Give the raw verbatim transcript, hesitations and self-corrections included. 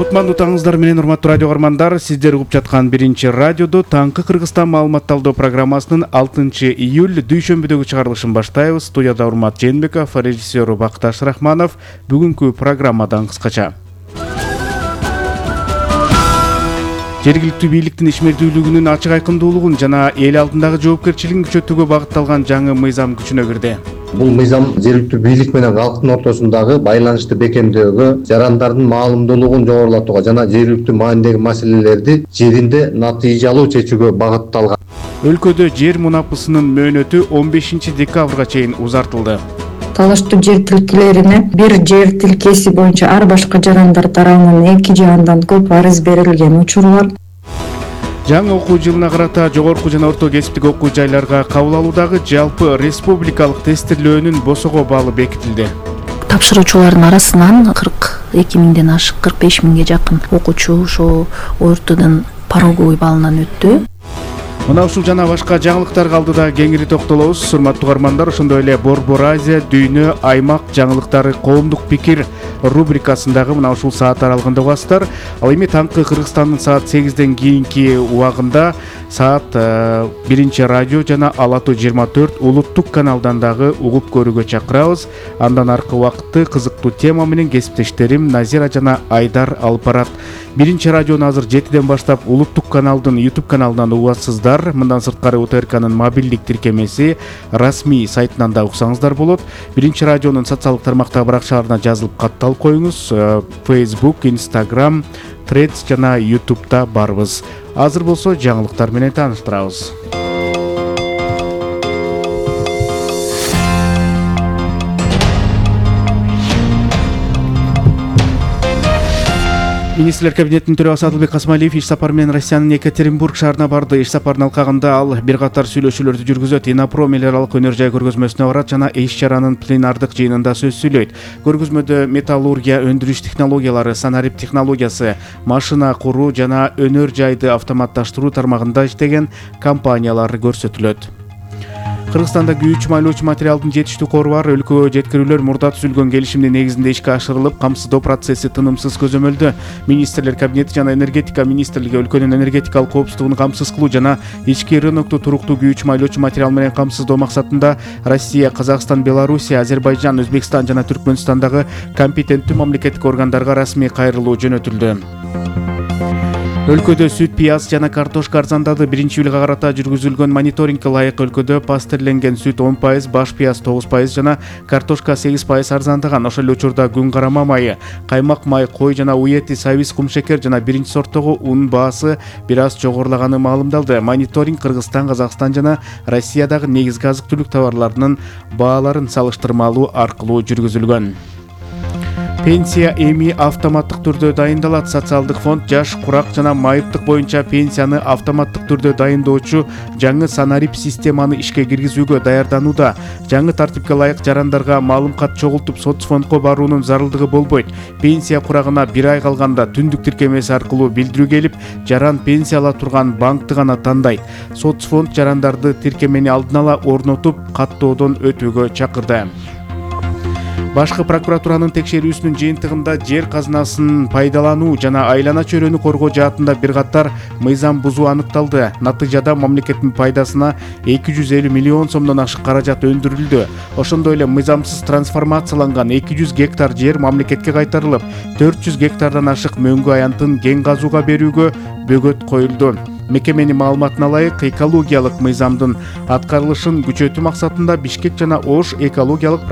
Кутмандуу таңыңыздар менен урматтуу радио көрөрмандар, сиздер угуп жаткан биринчи радиодо таңкы Кыргызстан маалымат талдоо программасынын алтынчы июль дүйшөмбүдөгү чыгарылышын баштайбыз. Студияда Урмат Жээнбеков, режиссер Бакташ Рахманов. Бүгүнкү программадан кыскача. Жергиликтүү бийликтин ишмердүүлүгүнүн ачык айкындуулугун жана эл алдындагы жоопкерчилигин күчөтүүгө багытталган жаңы мыйзам күчүнө кирди. Бул мыйзам жергиликтүү бийлик менен калктын ортосундагы байланышты бекемдөөгө, жарандардын маалымдуулугун жогорулатууга жана жергиликтүү маанидеги маселелерди жеринде натыйжалуу чечүүгө багытталган. Өлкөдө жер мунапысынын мөөнөтү он бешинчи декабрга чейин узартылды. Талаштуу жер тилкелерине бир жер тилкеси боюнча ар башка жарандар тарабынан эки же андан көп арыз берилген учурлар. Жаңы окуу жылына карата жогорку жана орто кесиптик окуу жайларга кабыл алуудагы жалпы республикалык тестирлөөнүн босого баалы бекитилди. Тапшыруучулардын арасынан кырк эки миңден ашык кырк беш миңге жакын окуучу ошо ОРТдун пороговый балынан өттү. Мына ушул жана башка жаңылыктарга алдыда кеңири токтолобуз. Урматтуу көрөрмандар, ошондой эле Борбор Азия, дүйнө, аймак жаңылыктары, коомдук пикир рубрикасындагы мына ушул саат аралыгында угасыздар. Ал эми таңкы Кыргызстандын саат сегизден кийинки убагында саат биринчи радио жана Ала Тоо жыйырма төрт улуттук каналдан дагы угуп көрүүгө чакырабыз. Андан аркы убакытты кызыктуу тема менен кесиптештерим Назира жана Айдар алып барат. Биринчи радиону азыр жетиден баштап улуттук каналдын YouTube каналынан угасыздар. Мындан сырткары УТРКнын мобилдик тиркемеси расмий сайтынан да уксаңыздар болот. Биринчи радионун социалдык тармактагы баракчаларына жазылып катталып коюңуз. Facebook, Instagram, Threads жана YouTube'да барбыз. Азыр болсо жаңылыктар менен тааныштырабыз. Министрлер кабинетинин төрагасы Адылбек Касмалиев иш сапары менен Россиянын Екатеринбург шаарына барды. Иш сапарынын алкагында ал бир катар сүйлөшүүлөрдү жүргүзөт. Инапро мелиоралык өнөр жай көргөзмөсүнө барат жана иш-чаранын пленардык жыйынында сөз сүйлөйт. Көргөзмөдө металлургия, өндүрүш технологиялары, санарип технологиясы, машина куруу жана өнөр жайды автоматташтыруу тармагында иштеген компаниялар көрсөтүлөт. Кыргызстанда күйүүчү майлоочу материалдын жетиштүү кору бар. Өлкөгө жеткирүүлөр мурда түзүлгөн келишимдин негизинде ишке ашырылып, камсыздоо процесси тынымсыз көзөмөлдө. Министрлер кабинети жана энергетика министрлиги өлкөнүн энергетикалык коопсуздугун камсыз кылуу жана ички рынокту туруктуу күйүүчү майлоочу материал менен камсыздоо максатында Россия, Казакстан, Белоруссия, Азербайжан, Өзбекстан жана Түркмөнстандагы компетенттүү мамлекеттик органдарга расмий кайрылуу жөнөтүлдү. Өлкөдө сүт, пияз жана картошка арзандады. Биринчи июлга карата жүргүзүлгөн мониторингке ылайык өлкөдө пастерленген сүт он пайыз, баш пияз тогуз пайыз жана картошка сегиз пайыз арзандаган. Ошол эле учурда күн карама майы, каймак май, кой жана уй эти, сабиз, кумшекер жана биринчи сорттогу ун баасы бир аз жогорулаганы маалымдалды. Мониторинг Кыргызстан, Казакстан жана Россиядагы негизги азык-түлүк товарларынын бааларын салыштырмалуу аркылуу жүргүзүлгөн. Пенсия эми автоматтык түрдө дайындалат. Социалдык фонд жаш, курак жана майыптык боюнча пенсияны автоматтык түрдө дайындоочу жаңы санарип системаны ишке киргизүүгө даярданууда. Жаңы тартипке ылайык жарандарга маалым кат чогултуп соцфондко баруунун зарылдыгы болбойт. Пенсия курагына бир ай калганда түндүк тиркемеси аркылуу билдирүү келип, жаран пенсия ала турган банкты гана тандайт. Соцфонд жарандарды тиркемени алдын ала орнотуп, каттоодон өтүүгө чакырды. Башкы прокуратуранын текшерүүсүнүн жыйынтыгында жер казынасын пайдалануу жана айлана чөйрөнү коргоо жаатында бир катар мыйзам бузуу аныкталды. Натыйжада мамлекеттин пайдасына эки жүз элүү миллион сомдон ашык каражат өндүрүлдү. Ошондой эле мыйзамсыз трансформацияланган эки жүз гектар жер мамлекетке кайтарылып, төрт жүз гектардан ашык мөңгү аянтын кен казууга берүүгө бөгөт коюлду. Мекеменин маалыматына ылайык, экологиялык мыйзамдын аткарылышын күчөтүү максатында Бишкек жана Ош экологиялык